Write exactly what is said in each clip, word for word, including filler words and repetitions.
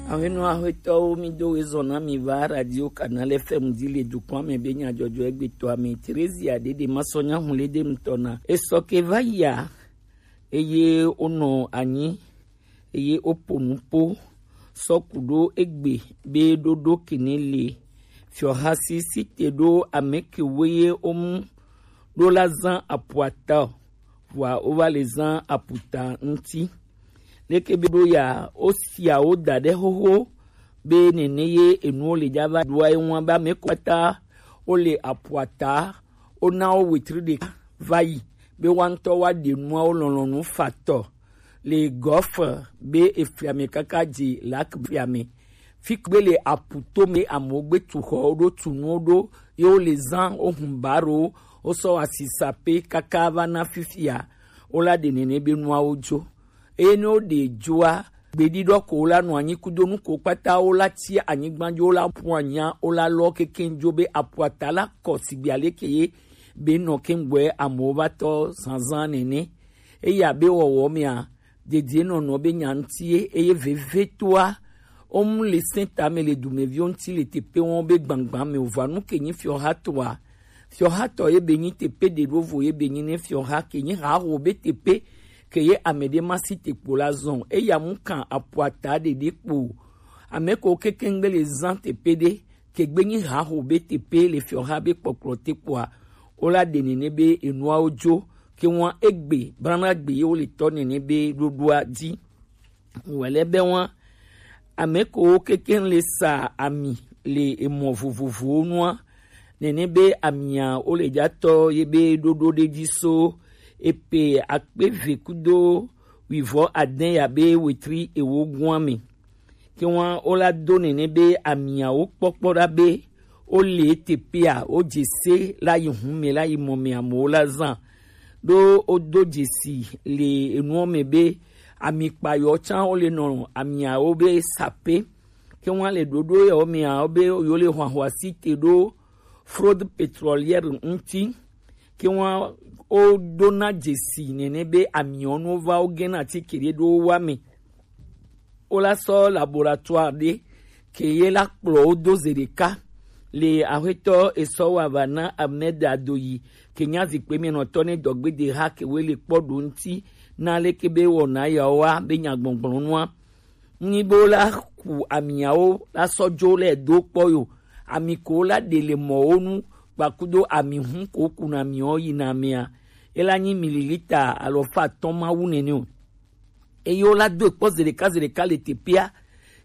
Aƒenɔ aƒetɔwo, mi do wezɔ na mi va Radio Canal F M dzi le dukɔa me be nyadzɔdzɔ egbetɔa me. Theresia Dede Masɔnya Hunlede ŋutɔ na. Esɔ ke va yia, eye wonɔ anyi, eye woƒo nuƒo sɔ ku ɖo egbe be ɖoɖo kene le fiɔha si si te ɖo ame kewoe ye womu ɖo la zã apuata o, vɔa wova le zã aputa ŋuti. Leke be ɖo ya, wosia wo da ɖe xoxo be nene ye enuwo le dza va ɖoa ye ŋua be ame ko katã wole apuata, wona wo wetri ɖeka va yi be woa ŋutɔ woaɖe nuawo lɔlɔ̃nu fatɔ le gɔfe be efliame kaka dzi lak fiame. Fi gbe le aputo me amewo gbe tu xɔwo ɖo, tu nuwo ɖo, ye wole zã, wohun barowo, wosɔ asisa pe kaka va na fifia, wola ɖe nene be nuawo dzo. Eye ne woɖe dzoa, gbeɖiɖɔ ko wola nɔ anyi kudo nu ko kpata wola tsi anyigba dzi, wola ƒu anya, wola lɔ kekeŋ dzo be apuata la kɔ sigbe aleke ye be nɔ keŋgbɔe amewo va tɔ zazã nene. Eye abe wɔwɔ mea, dedienɔnɔ be nya ŋuti ye, eye vevetoa, wom le sẽta me le dumeviwo ŋuti le teƒe wɔm be gbãgbã me o. Vɔa nu ke nyi fiɔhatɔa, fiɔhatɔ ye be nyi teƒe ɖe ɖo vo ye be nyi ne fiɔha ke nyi haho be teƒe ke ye ame ɖe ma si te kpo la zɔn. Eya mu kan apuata ɖeɖe kpo o. Ame ko kekeŋgbe le zã teƒe ɖe ke gbe nyi haho be teƒe le fiɔha be kpɔkplɔ te kpoa, wola ɖe nene be enuawo dzo ke ŋua egbe brana gbe ye wole tɔ nene be ɖoɖoa dzi. Wòle be wa ame kewo kekeŋ le sa ami le emɔ vovovowo nua, nene be amia wole dza tɔ ye be ɖoɖo ɖe dzi so epe akpe eve kudo wuivɔ ade ya be wetri ewo gua me. Ke wa wola do nene be amiawo kpɔkpɔ ɖa be wole teƒea, wodze se la yi hu me, la yi mɔ me amewo la zã. Ɖo wodo dzesi le enuɔ me be ami kpayɔ tsã wole nɔ amiawo be sape. Ke wa le ɖoɖo yawo mea, wo be yewo le hwahwasi te ɖo fraude pétrolière ŋuti. Ke wa woɖona dzesi nene be amiɔnuwo va wogena atike ɖe ɖo wowa me. Wola sɔ laboratoire ɖe ke ye la kplɔ wo do ze ɖeka le aƒetɔ esɔ wa va na Ahmed Adoyi ke nya zikpui me nɔtɔ ne dɔgbede ha ke wo le kpɔ ɖo ŋuti na leke be wɔna yawo wa be nyagbɔgblɔ nua. Nyi be wola ku amiawo la sɔ dzo le do kpɔ yo. Ami ko la ɖe le mɔwo nu kpakudo ami hu ko kuna miwo yina mea, ela nyi mililita alɔfa atɔ̃ ma wu nene o. Eye wola do kpɔ ze ɖeka ze ɖeka le teƒea,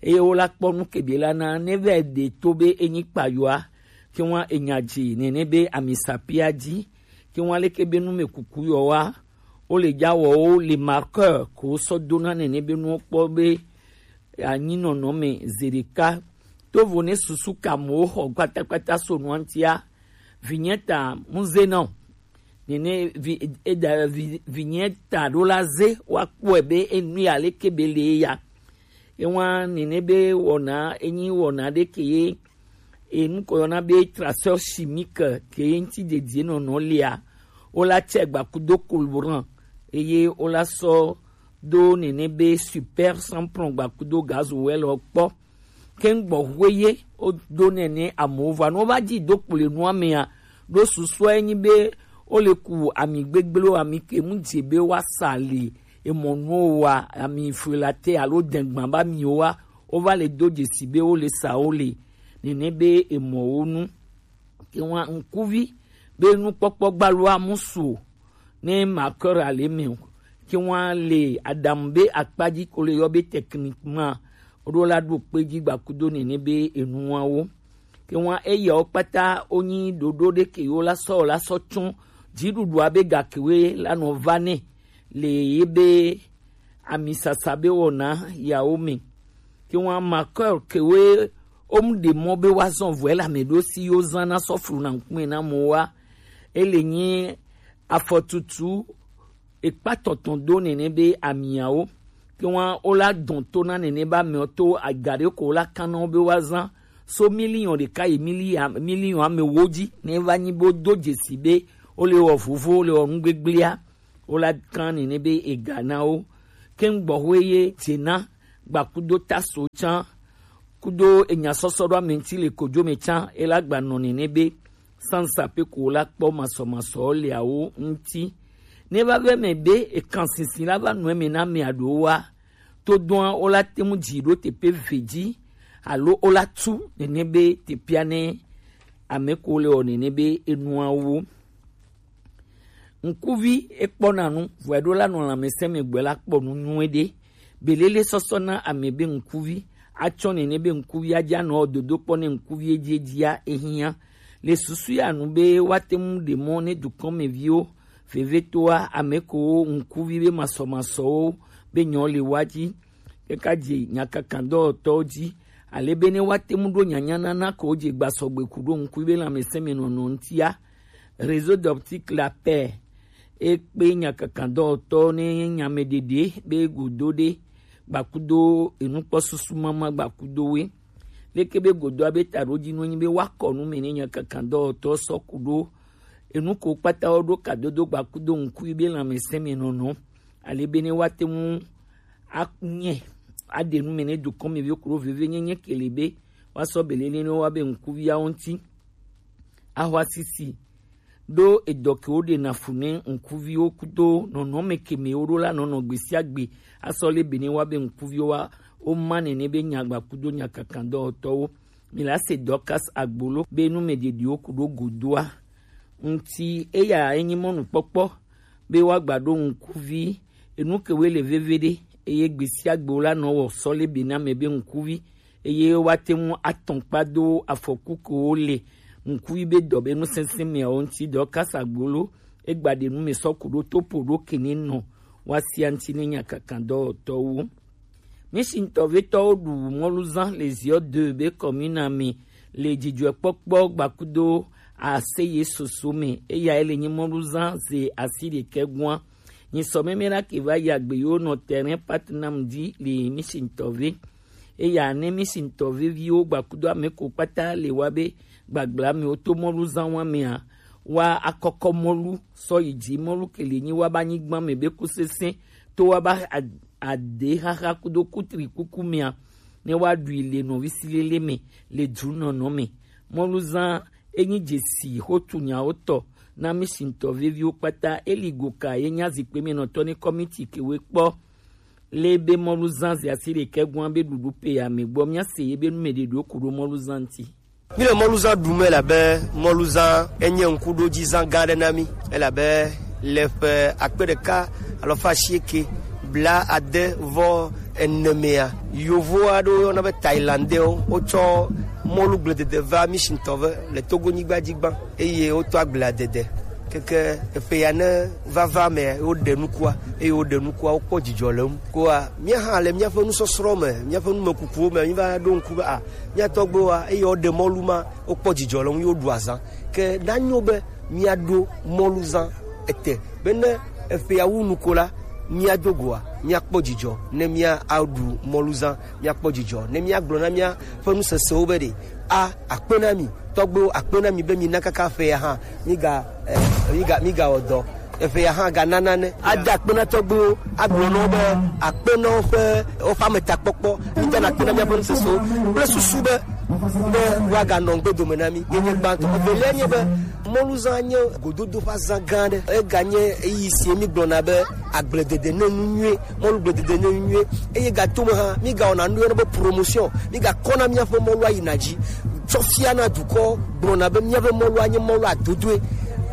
eye wola kpɔ nu ke be la na ne vɛ ɖe to be enyi kpayoa, ke wa enya dzi nene be ami sapia dzi, ke wa leke be nu me kuku yɔ wa, wole dza wɔwo le marqueur ko sɔ dona nene be nuwo kpɔ be anyinɔnɔ me ze ɖeka. Tovo ne susu ka amewo xɔ kpatakpata so nua ŋutia, vinyeta muze na o. Nene vi, eda, vi, vinyeta ɖo la ze woakpɔe be enu ya leke be le ya. Ewa nene be wɔna, enyi wɔna ɖe ke ye enu ko yɔna be traceur chimique ke ye ŋuti dedie nɔnɔ lia, wola tsɛ gbakudo carburant, eye wola sɔ do nene be super sans plomb gbakudo gasoil kpɔ. Ke ŋgbɔ hwe ye wodo nene amewo va, ne wova dzi do kplɔe nua mea, ɖo susua enyi be wole ku ami gbegblẽwo, ami ke mu dze be woasa le emɔ nuwo wa, ami frelater alo dengban ba miwo wa, wova le do dzesi be wole sa wo le nene be emɔwo nu. Ke wa ŋkuvi be nukpɔkpɔ gbaloa mu su o, ne marqueur ale me o. Ke wa le aɖaŋu be akpa dzi ko le yɔ be techniquement, woɖo la ɖo kpe dzi gbakudo nene be enuawo. Ke wa eyawo kpata wonyi ɖoɖo ɖe ke yewo la sɔ, la sɔ tsɔ dziɖuɖua be gakewoe la nɔ va nɛ le ye be amisasa be wɔna yawo me. Ke wa marqueur kewoe wom ɖe mɔ be woazɔ vɔe le ame ɖo si yewo zã na sɔ flu na ŋkume na mɔ wa. Ele nyi afɔtutu ekpa tɔtɔn do nene be amiawo. Ke wa wola dɔn to na nene be amewo to aga ɖe ko wola kan na wo be woazã so miliɔn ɖeka yi miliɔn, miliɔn amewo dzi ne va nyi be wodo dzesi be wole wɔ vovo, wole wɔ nu gbegblẽa, wola kan nene be ega na wo. Ke ŋgbɔ hwe ye dze na gbakudo taso tsã kudo enya sɔsɔ ɖo ame ŋuti le kojo me tsã, ela gba nɔ nene be sansa pe ko la kpɔ masɔmasɔ le awo ŋuti. Ne va vɛ me be ekan sinsin la va nɔ eme na ame aɖewo wa, to dɔa wo la te ŋu dzi ɖo teƒe ve dzi alo wo la tu nene be teƒea ne ame ko le wɔ nene be enuawo. Ŋkuvi ekpɔna nu, vɔe ɖo la nɔ lãmesẽ me gbɔe la kpɔ nu nyuie ɖe. Belele sɔsɔ na ame be ŋkuvi atsɔ nene be ŋkuvi adza nɔ dodo kpɔ ne ŋkuvi edziedzia ehiã. Le susu ya nu be woate ŋu ɖe mɔ ne dukɔmeviwo vevetoa ame ko ŋkuvi be masɔmasɔwo be nyɔ le wa dzi kaka dze nyakakadɔwɔtɔwo dzi, ale be ne woate ŋu ɖo nyanyanana ko dze gbasɔgbe ku ɖo ŋkuvi be lãmesẽmenɔnɔ ŋutia. Réseau d'optique la paix ekpe nyakakadɔwɔtɔwo ne nyameɖeɖe be godo ɖe gbakudo enukpɔsusu mama gbakudowoe. Leke be godoa be taɖodzinue nyi be woakɔ nu me ne nyakakadɔwɔtɔ sɔ ku ɖo enu ko kpata wo ɖo kadodo gbakudo ŋkui be lãmesẽmenɔnɔ, ale be ne woate ŋu anye aɖe nu me ne dukɔmeviwo ku ɖo vevienyenye ke le be woasɔ belele ne woa be ŋkuviawo ŋuti. Ahwasisi ɖo edɔ ke woɖena fu ne ŋkuviwo kudo nɔnɔme ke me woɖo la nɔnɔ gbe sia gbe asɔ le be ne woa be ŋkuviwo wa woma nene be nyagba kudo nyakakadɔwɔtɔwo. Mi la se Dorcas Agbolo be nu me ɖeɖiwo ku ɖo godoa ŋuti eya enyi mɔnukpɔkpɔ be woagba ɖo ŋkuvi enu ke woe le veve ɖe eye gbe sia gbe wo la nɔ wɔ sɔ le be na me be ŋkuvi eye woate ŋu atɔn kpa do afɔku ke wo le ŋkuvi be dɔ be nusɛsɛ meawo ŋuti dɔ kasa gbolo egba ɖe nu me sɔ ku ɖo topo ɖo kene nɔ woasia ŋuti ne nyakakadɔwɔtɔwo. Misintɔvetɔwo ɖu mɔluzã le Ziɔ de be kɔmina me le dzidzɔkpɔkpɔ gbakudo aseye soso me eya ele nyi mɔluzã ze asi ɖekɛ gua. Nyisɔ meme la ke va yi agbe yiwo nɔ terrain Patnam dzi le Misintɔve. Eya ne Misintɔve viwo gbakudo ame ko kpata le wa be gbagbla mewo to mɔluzã wa mea wa akɔkɔ mɔlu sɔ yi dzi mɔlu ke le nyi wa ba nyigba me be kusese to wa ba a- ade xaxa kudo kutri kuku mea ne wa ɖui le nɔvi silele me le dru nɔnɔ me. Mɔluzã enyi dzesi xotu nyawo tɔ na Misintɔ veviwo kpata eli go ka ye nya zikpe me nɔtɔ ne kɔmiti ke we kpɔ le be mɔluzã ze asi ɖekɛ gua be ɖuɖu pe ya me gbɔ mia se ye be nu me ɖe ɖo ku ɖo mɔluzã ŋuti. Mi le mɔluzã ɖu me la be mɔluzã enye ŋkuɖodzizã gã aɖe na mi elabe le ƒe akpe ɖeka alafa asieke bla ade vɔ ene mea, yovo aɖewo yɔna be Thailandais wotsɔ mɔlu gbledede va Misintɔ ve le Togo nyigba dzi gbã eye wotɔ agbledede keke eƒe ya ne vava me woɖe nukua eye woɖe nukua wokpɔ dzidzɔ le ŋu. Koa mía hã le míaƒe nusɔsrɔ̃ me, míaƒe numekukuwo me, míva ɖo ŋku be a mía tɔgbuiwoa eye woɖe mɔlu ma wokpɔ dzidzɔ le ŋu ye woɖu azã. Ke nanyo be míaɖo mɔluzã ete be ne eƒea wu nu ko la, míado goa míakpɔ dzidzɔ ne míaɖu mɔluzã, míakpɔ dzidzɔ ne míagblɔ na míaƒe nusesewo be ɖe a akpe na mi tɔgbuiwo, akpe na mi be mina kaka ƒea hã miga eh, miga migawɔ dɔ. Eƒe ya hã gana nane. Ada akpe na tɔgbuiwo, agblɔ na wo be akpe na woƒe woƒe ametakpɔkpɔ. Midana akpe na míaƒe nusesewo kple susu be be woaganɔ ŋgbe dome na mí. Yenye gbãtɔ. Evelia nye be mɔluzã nye gododo ƒe azã gã aɖe. Eganye eyi si mígblɔna be agbledede ne nu nyuie, mɔlugbledede ne nu nyuie. Eye gatome hã, mígawɔna nu yɔna be promotion. Mígakɔna míaƒe mɔlua yina dzi. Tsɔ fia na dukɔ gblɔna be míaƒe mɔlua nye mɔlu adodoe.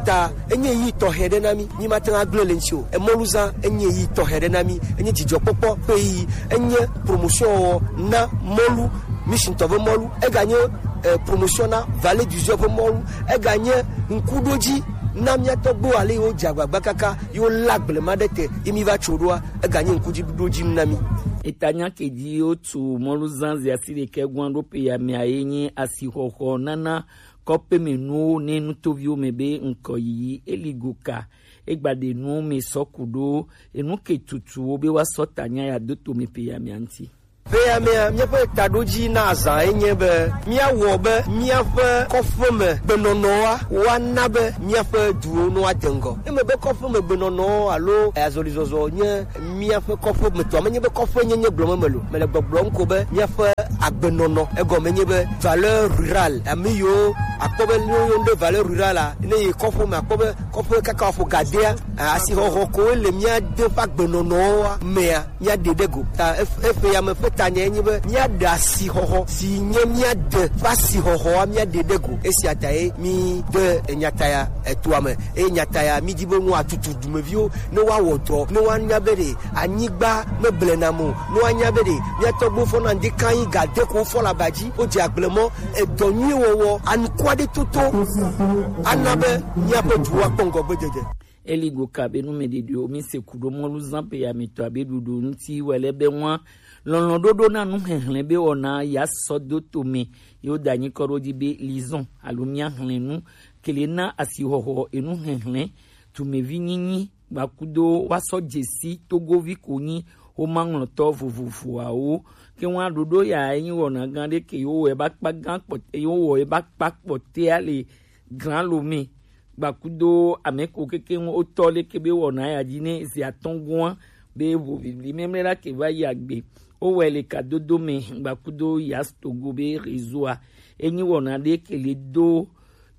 Ta enye yi tɔxɛ ɖe na mí. Mí mate ŋu agblẽ le ŋuti o. Emɔluzã enye yi tɔxɛ ɖe na mí. Enye dzidzɔkpɔkpɔ ƒe yi. Enye promotion wɔ na mɔlu, Misintɔ ƒe mɔlu. Eganye eh, promotion na Vallée du Zion ƒe mɔlu. Eganye ŋkuɖodzi na mía tɔgbuiwo ale yi wodze agbagba kaka yi wolé agblema ɖe te yi mí va tso ɖoa. Eganye ŋkudziɖuɖodzinu na mí. Eta nya ke dzi wotu mɔluzã zi asi ɖekɛ gua ɖo pe ya mea ye nye asixɔxɔ nana kɔƒemenuwo ne nutoviwo me be ŋkɔ yiyi eli go ka egba ɖe nuwo me sɔ ku ɖo enu ke tutu wo be woasɔ ta nya ya do to me pe ya mea ŋuti. Ƒe ya mea, míaƒe taɖodzi na azã ye nye be míawɔ be míaƒe kɔƒeme gbenɔnɔa woana be míaƒe duwo no ade ŋgɔ. Eme be kɔƒeme gbenɔnɔ alo azɔlizɔzɔ nye míaƒe kɔƒemetɔ. Menye be kɔƒenyenye gblɔm mele o. Mele gbɔgblɔm ko be míaƒe agbenɔnɔ. Egɔme nye be valeur rurale, ame yiwo akpɔ be ne woyɔna ɖe valeur rurale a, ne yi kɔƒeme akpɔ be kɔƒe kaka wòaƒo gadea, asixɔxɔ koe le mía de ƒe agbenɔnɔa mea, míaɖe ɖe go. Ta ef-, eƒe ya me ƒe tanya ye nye be míaɖe asixɔxɔ si nye mía de ƒe asixɔxɔa, míaɖe ɖe go. Esia tae mí de enyata ya etoa me. Eye nyata ya, mídi be nu atutu dumeviwo ne woawɔ dɔ, ne woanya be ɖe anyigba meblena mo, ne woanya be ɖe mía tɔgbuiwo fɔna ŋdi kan yi ga de ko wofɔ le aba dzi, wodze agble mɔ, edɔ nyui wɔwɔ, anuku aɖe toto ana be míaƒe duwo akpɔ ŋgɔgbedede. Eli go ka be nu me ɖeɖewo mi se ku ɖo mɔlu zã pe ya mi tɔ abe ɖuɖu ŋuti wɛ le be ŋua lɔlɔ̃ ɖoɖo na nu xexlẽ be wɔna ya sɔ do to me. Yo da nyi kɔ ɖo di be lizɔn alo mía xlẽ nu kele na asixɔxɔ enu xexlẽ tumevi nyinyi gbakudo wa sɔ dzesi togovi ko nyi womaŋlɔtɔ vovovoawo. Ke ŋua ɖoɖo ya enyi wɔna gã ɖe ke yo wɔ eba kpa gã kpɔtɛ, yo wɔ eba kpa kpɔtɛa le gran lo me. Gbakudo ame ko keke ŋu wotɔ leke be wɔna ya dzi ne zi atɔ̃ gɔ̃a be ʋu bibli memle la ke va yi agbe. Wowɔe le kadodo me gbakudo ya Togo be réseau-a. Enyi wɔna ɖe ke le do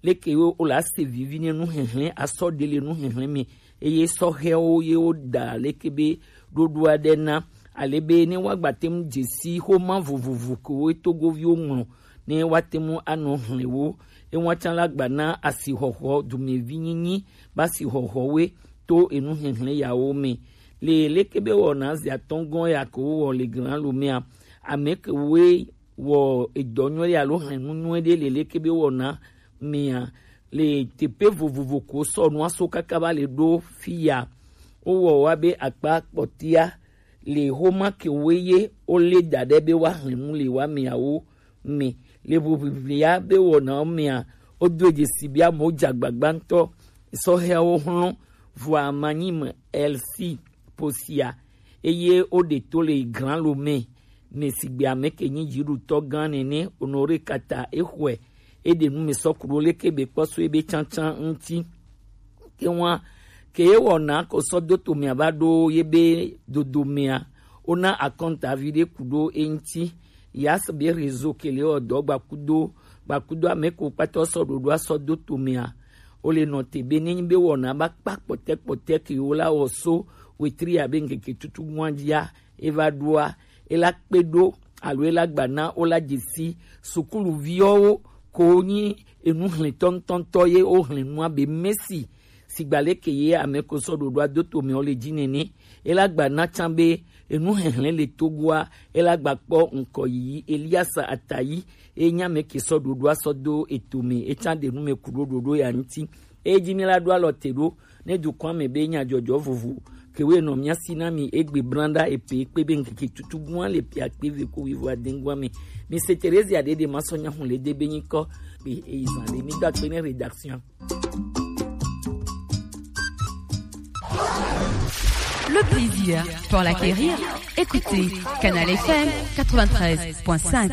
leke wo la se vivi ne nu xexlẽ asɔ ɖe le nu xexlẽ me. Eye sɔhɛwo ye wo da leke be ɖoɖo aɖe na ale be ne woagba te ŋu dze si xoma vovovo ke wo togoviwo ŋlɔ ne woate ŋu anɔ xlẽ wo. Ewa tsã la gba na asixɔxɔ dumevi nyinyi ba asixɔxɔwoe to enu xexlẽ yawo me. Le leke be wɔna zi atɔ̃ gɔ̃ ya ke wowɔ le gran lo mea, ame ke woe wɔ edɔ nyuie alo xlẽ nu nyuie ɖe le leke be wɔna mea, le teƒe vovovo ko sɔ nua so kaka va le ɖo fi ya. Wowɔ wa be akpa kpɔtia le xoma ke woe ye wole da ɖe be woaxlẽ nu le wa meawo me. Le ʋuʋiʋlia be wɔnawo mea, wodo dzesi be amewo dze agbagba ŋutɔ. Sɔhɛawo hlɔ̃ vɔa manyi me Elsi posia, eye woɖe to le Grand Lomé me sigbe ame ke nyi dziɖutɔ gã nene Honoré Kata exɔe. Eɖe nu me sɔ ku ɖo leke be kpɔ so ebe tsantsan ŋuti. Ke wa ke ye wɔna ko sɔ do to mea va ɖo ye be dodo mea, wona akɔnta vi ɖe ku ɖo eŋuti. Yas be réseau ke le wɔ dɔ gbakudo, gbakudo ame ko kpata sɔ ɖoɖo asɔ do to mea. Wole nɔ te be nenyi be wɔna ba kpa kpɔtɛ kpɔtɛ ke wo la wɔ so wetri abe ŋkeke tutu gua dzia, eva ɖoa, ela kpe ɖo alo ela gba na wo la dzesi sukuluviwo ko nyi enu hlẽtɔ ŋutɔŋutɔ ye wo hlẽ nua be Messi sigba leke ye ame ko sɔ ɖoɖoa do to me wo le dzi nene. Ela gba na tsã be enu hehlẽ le Togoa, ela gba kpɔ ŋkɔ yiyi Elias Atayi, e nya me ke sɔ ɖoɖoa sɔ do eto me, e tsã ɖe nu me ku ɖo ɖoɖo ya ŋuti. E dzi mi la ɖo alɔ te ɖo ne dukɔa me be nyadzɔdzɔ vovo ke wo nɔ mia si na mi egbe blanda epe kpe be ŋkeke tutu gua le pia kpe ve ko wivo adengua me. Mi se Terezia ɖe ɖe ma sɔ nya hun le de be nyikɔ be eyi zan le mi da kpe ne rédaction. Le plaisir pour l'acquérir. Écoutez Canal F M quatre-vingt-treize point cinq.